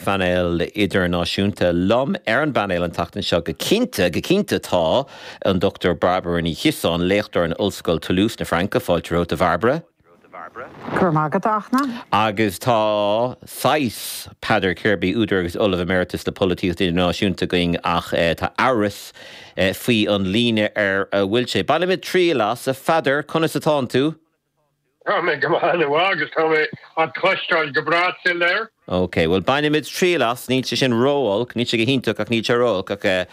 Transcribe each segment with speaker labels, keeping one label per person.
Speaker 1: phainéal idirnáisiúnta. Liom ar an bpainéal an tseachtain seo go cinnte, go cinnte tá an Dr Bairbre Ní Chiosáin, léachtóir in Ollscoil Toulouse na Fraince. Fáilte romhat a Bhairbre.
Speaker 2: Go raibh maith agat, a Fhachtna.
Speaker 1: Agus tá saghas Peadar Kirby, údar agus Ollamh Emeritus le Polaitíocht Idirnáisiúnta againn ach tá amhras faoi an líne ar a bhfuil sé. Bainfimid triail as. A Pheadair, conas atánn tú?
Speaker 3: Tá mé go maith an-mhaith agus tá mé á chloisteáil go breá soiléir.
Speaker 1: Ok, bhuel bainfimid triail as, níl sé sin ró-olc, níl sé go hiontach ach níl sé ró-olc ach eh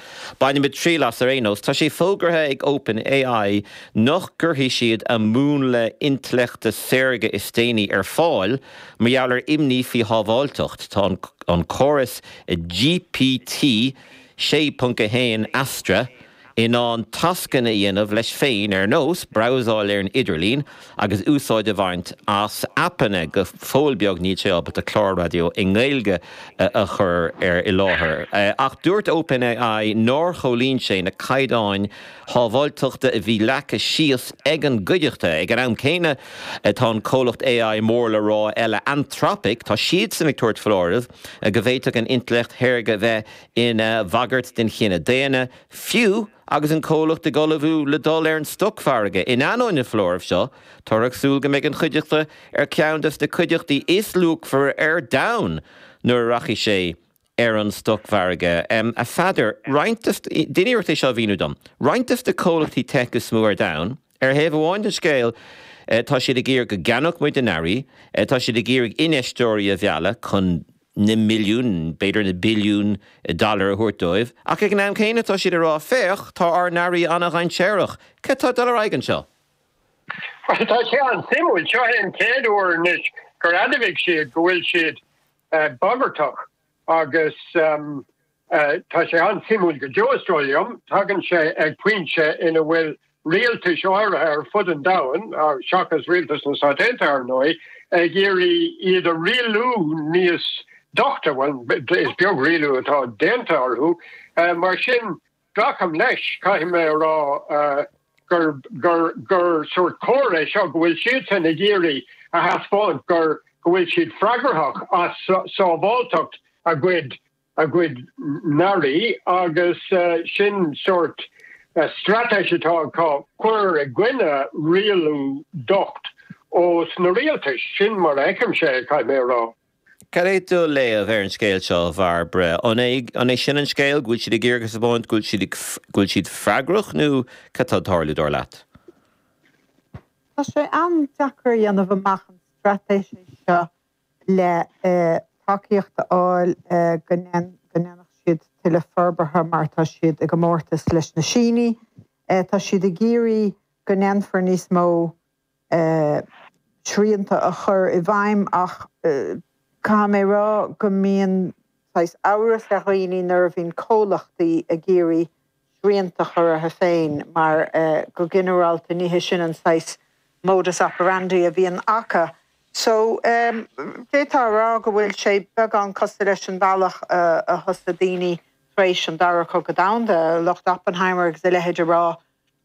Speaker 1: bainfimid triail as ar aon nós. Tá sé fógartha ag Open AI nach gcuirfidh siad a múnla intleachta saorga is déanaí ar fáil mar gheall ar imní faoi shábháilteacht. Tá an córas GPT 6.1 Astra in ann tascanna a dhéanamh leis féin ar nós brabhsáil ar an idirlíon agus úsáid a bhaint as aipeanna. Go fóill beag níl sé ábalta clár raidió i nGaeilge a chur ar i láthair. Ach dúirt OpenAI nár chomhlíon sé na caighdeáin shábháilteachta a bhí leagtha síos ag an gcuideachta. Ag an am céanna tá an comhlacht AI mór le rá eile Anthropic, tá siadsan ag tabhairt foláireamh go bhféadfadh an intleacht shaorga bheith ina bhagairt den chine daonna, fiú agus an comhlacht ag ullmhú le dul ar an stocmhargadh. In ainneoin na foláirimh seo, táthar ag súil go mbeidh an chuideachta ar cheann de na cuideachtaí is luachmhaire ar domhan nuair a rachaidh sé ar an stocmhargadh. A Pheadair, roinnt de, déan iarracht é seo a mhíniú dom, roinnt de na comhlachtaí tech is mó ar domhan, ar thaobh amháin den scéal, tá siad ag iarraidh go gceannódh muid a n-earraí, tá siad ag iarraidh infheisteoirí a mhealladh chun na milliúin, b'fhéidir na billiúin dollar a thabhairt dóibh, ach ag an am céanna tá siad ag rá, féach, tá ár n-earraí an-dhainséarach. Cad tá ag dul ar aghaidh anseo?
Speaker 3: Bhuel, tá sé an-suimiúil. Seo é an chéad uair anois gur admhaigh siad go bhfuil siad bagartach agus Tá sé an-suimiúil go deo, is dóigh liom. Tagann sé ag pointe ina bhfuil rialtais áirithe ar fud an domhain, seachas rialtas na Stát Aontaithe, ar ndóigh, ag iarraidh iad a rialú níos doichte. Bhuel, is beag rialú atá déanta orthu. Mar sin, glacaim leis, caithfidh mé a rá, gur, gur, gur sórt comhartha é seo go bhfuil siadsan ag iarraidh a thaispeáint gur, go bhfuil siad freagrach as sábháilteacht a gcuid a gcuid n-earraí agus sin sórt straitéis atá acu cur i gcoinne rialú docht ós na rialtais. Sin mar a fheicimse é, caithfidh mé a rá.
Speaker 1: Cad é do léamh ar an scéal seo, a Bhairbre? An é an é sin an scéal, go bhfuil siad ag iarraidh a thaispeáint go bhfuil siad go bhfuil siad freagrach nó cad tá ag tarlú, dar leat?
Speaker 2: Tá sé an-deacair a dhéanamh amach an straitéis é seo le tacaíocht a fháil go ndéanfadh siad tuilleadh forbartha mar tá siad i gcomórtas leis na Sínigh. Tá siad ag iarraidh go ndéanfar níos mó srianta a chur i bhfeidhm ach caithfidh mé a rá go mbíonn saghas amhras ar dhaoine nuair a bhíonn comhlachtaí ag iarraidh srianta a chur orthu féin mar go ginearálta ní hé sin an saghas modus operandi a bhíonn acu. So, d'fhéadfá a rá go bhfuil sé beagán cosúil leis an bhealach a thosaigh daoine tar éis an Dara Cogadh Domhanda, lucht Oppenheimer agus a leithéid a rá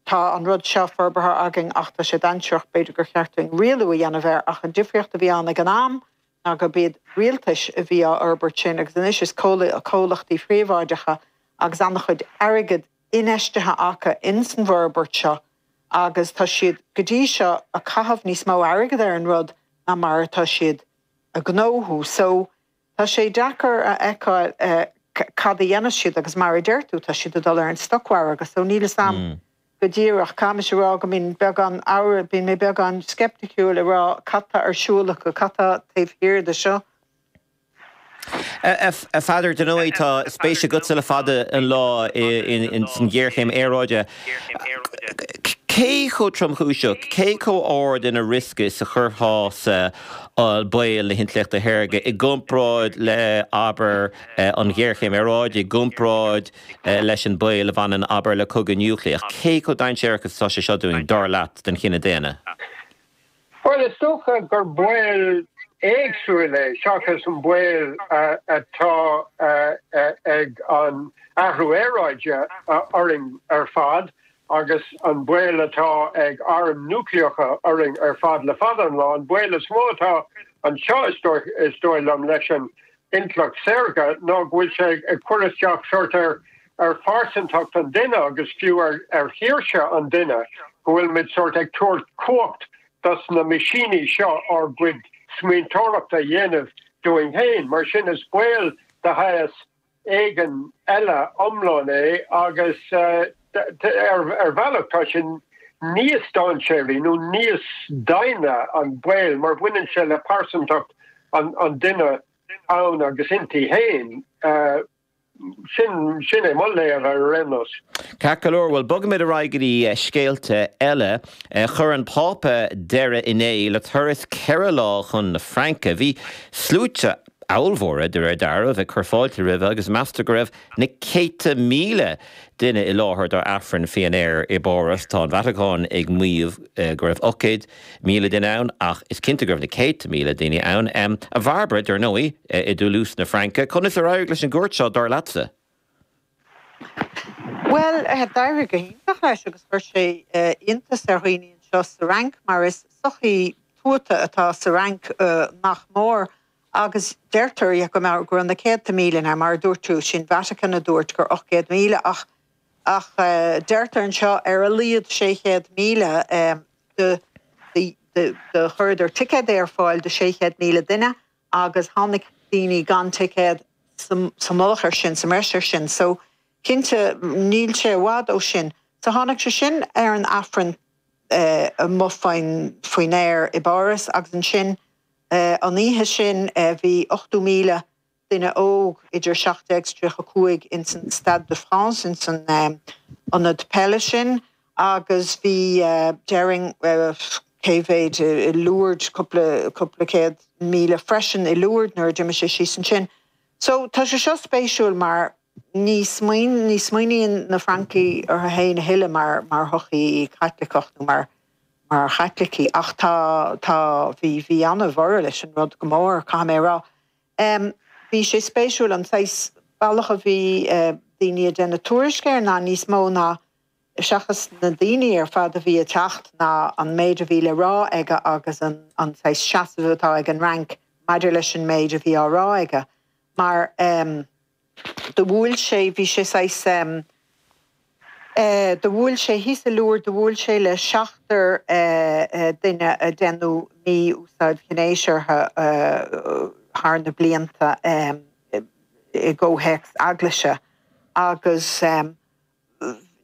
Speaker 2: tá an rud seo forbartha againn ach tá sé dainséarach, b'fhéidir gur cheart dúinn rialú a dhéanamh air ach an difríocht a bhí ann ag an am ná gurb iad rialtais a bhí á fhorbairt sin agus anois is comhlachtaí príobháideacha agus an-chuid airgead infheistithe acu ins an bhforbairt seo agus tá siad go dtí seo ag caitheamh níos mó airgead ar an rud ná mar atá siad a ghnóthú. So tá sé deacair a fheiceáil cad a dhéanfas siad agus mar a deir tú tá siad ag dul ar an stocmhargadh so níl fhios a'm go díreach. Caithfidh mise a rá go mbíonn beagán amhras, bíonn mé beagán sceipticiúil ag rá cad tá ar siúl acu, cad tá taobh thiar de seo.
Speaker 1: A Pheadair, dar ndóigh, tá spéis agatsa le fada an lá san ghéarchéim aeráide. Cé chomh tromchúiseach, cé chomh ard ina riosca is a chuirfeá-sa baol na hintleachta shaorga i gcomparáid le, abair, an ghéarchéim aeráide, i gcomparáid leis an baol a bhaineann, abair, le cogadh núicléach? Cé chomh dainséarach is atá sé seo dúinn, dar leat, don chine daonna?
Speaker 3: Bhuel, is dócha gur baol éagsúil é seachas an baol atá ag an athrú aeráide orainn ar fad agus an baol atá ag airm núicléacha orainn ar fad le fada an lá. An baol is mó atá anseo, is dóigh liom, leis an. Intleacht Saorga ná go bhfuil sé ag cur isteach sórt ar ar phearsantacht an duine agus fiú ar ar shaoirse an duine, go bhfuil muid sórt ag tabhairt cumhacht dos na meaisíní seo ár gcuid smaointeoireachta a dhéanamh dúinn féin. Mar sin is baol de shaghas éigin eile iomlán é agus ar bhealach tá sé níos dainséaraí nó níos doimhne an baol mar bhaineann sé le pearsantacht an duine ann agus inti féin. Sin sin é mo léamh air ar aon nós.
Speaker 1: Ceart go leor, bhuel bogfaimid ar aghaidh go dtí scéalta eile. Chuir an Pápa deireadh inné le turas 4 lá chun na Fraince. Bhí sluaite ollmhóra, de réir dealraimh, ag cur fáilte roimhe agus meastar go raibh na céadta míle duine i láthair dá Aifreann faoin aer i bPáras. Tá an Vatacáin ag maíomh go raibh 800,000 duine ann ach is cinnte go raibh na céadta míle daoine ann. A Bhairbre, dar ndóigh, i dToulouse na Fraince, conas ar éirigh leis an gcuairt seo, dar leatsa?
Speaker 2: Bhuel, d'éirigh go hiontach leis agus chuir sé iontas ar dhaoine anseo sa Fhrainc mar is sochaí tuata atá sa Fhrainc nach mór agus deirtear go mbeadh go raibh na céadta míle ann, mar a dúirt tú, sin Vatican a dúirt gur 800,000 ach ach deirtear anseo ar a laghad 600,000 do do chuireadar ticéid ar fáil do 600,000 duine agus tháinig daoine gan ticéad sa mullach ar sin, sa mbreis ar sin. So, cinnte, níl sé i bhfad ó sin. So tháinig sé sin ar an Aifreann amuigh faoin faoin aer i bPáras agus ansin an oíche sin bhí 80,000 duine óg idir 17 's 35 ins an Stade de France, ins an ionad peile sin agus bhí, déarfainn, cé mhéid i Lourdes, cúpla, cúpla 100,000 freisin i Lourdes nuair a d'imigh sé síos ansin. So tá sé seo spéisiúil mar ní smaoin, ní smaoiníonn na Francaigh orthu féin a thuilleadh mar, mar shochaí Chaitliceach nó mar, mar Chaitlicigh ach tá, tá, bhí, bhí an-bhorradh leis an rud go mór, caithfidh mé a rá. Bhí sé spéisiúil an saghas bealach a bhí daoine ag déanamh tuairisc air ná níos mó ná, seachas na daoine ar fad a bhí ag teacht, ná an méid a bhí le rá aige agus an saghas seasamh atá ag an Fhrainc maidir leis an méid a bhí á rá aige. Mar do bhuail sé, bhí sé saghas, Do bhuail sé thíos i Lourdes, do bhuail sé le seachtar duine a deineadh mí-úsáid ghnéis orthu thar na blianta i gcomhthéacs eaglaise agus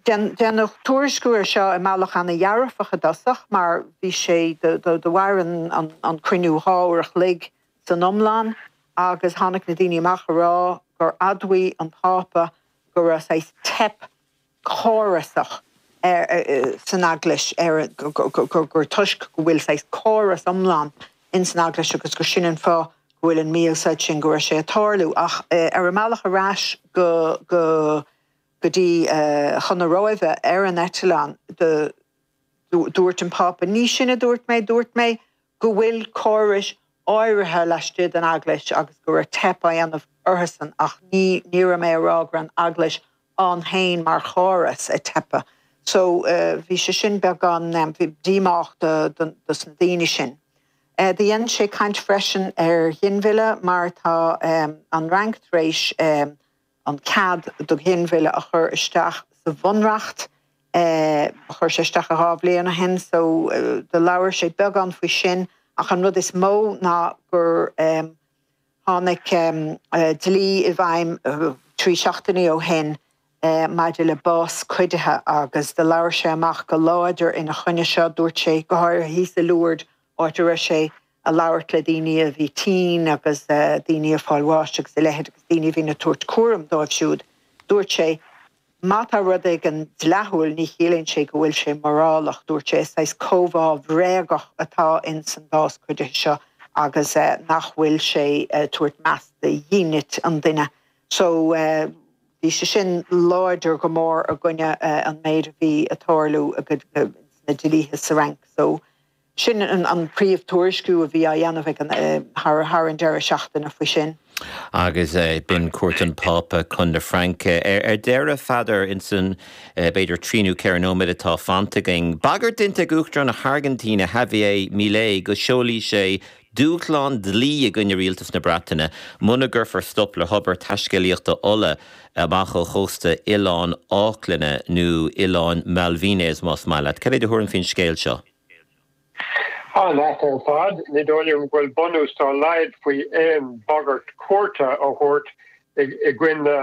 Speaker 2: deineadh tuairisciú air seo i mbealach ana-dhearfach i dtosach mar bhí sé, do mhair an cruinniú 2 uair a chloig san iomlán agus tháinig na daoine amach a rá gur admhaigh an Pápa go raibh saghas teip chórasach san Eaglais ar gur toisc go bhfuil saghas córas iomlán ins an Eaglais agus gur sin an fáth go bhfuil an mí-úsáid sin go raibh sé ag tarlú. Ach ar a mbealach ar ais go go go dtí chun na Róimhe ar an eitleán do dúirt an Pápa, ní sin a dúirt mé, dúirt mé go bhfuil córais áirithe laistigh den Eaglais agus go raibh teip á dhéanamh orthusan ach ní ní raibh mé ag rá go raibh an Eaglais ann féin mar chóras ag teipeadh. So bhí sé sin beagán díomách do dos na daoine sin. Do dhein sé caint freisin ar ghinmhilleadh mar tá an Fhrainc tar éis an cead do ghinmhilleadh a chur isteach sa bhunreacht. Chuir sé isteach 2 bhliain ó shin so do labhair sé beagán faoi sin ach an rud is mó ná gur tháinig dlí i bhfeidhm 3 seachtainí ó shin maidir le bás cuidithe agus do labhair sé amach go láidir ina choinne seo. Dúirt sé, go háirithe thíos i Lourdes, áit a raibh sé a labhairt le daoine a bhí tinn agus daoine ag fáil bháis agus a leithéid agus daoine a bhíonn ag tabhairt cúram dóibh siúd. Dúirt sé, Má tá rud éigin dleathúil ní chiallaíonn sé go bhfuil sé morálach. Dúirt sé, Is saghas comhbhá bhréagach atá ins an bhás cuidithe seo agus nach bhfuil sé ag tabhairt meas do dhínit an duine. So bhí sé sin láidir go mór i gcoinne an méid a bhí ag tarlú sna dlíthe sa Fhrainc. So Sin an príomh tuairisciú a bhí á dhéanamh ag an thar an deireadh seachtaine faoi sin.
Speaker 1: Agus b'in cuairt an Phápa chun na Fraince. Ar deireadh, Pheadair, insan b'fhéidir trí nó ceithre nóiméad atá fanta againn, bagairt déanta ag Uachtarán na hAirgintíne, Javier Milei, go seolfaidh sé. dúshlán dlí i gcoinne rialtas na Breataine muna gcuirfear stop le hobair taiscéalaíochta ola amach ó chósta Oileáin Fháclainne, nó Oileáin Malvinas más maith leat. Cad é do thuairim faoin scéal seo?
Speaker 3: An-ait ar fad. Ní dóigh liom go bhfuil bunús dá laghad faoi aon bhagairt cúirte a thabhairt i gcoinne.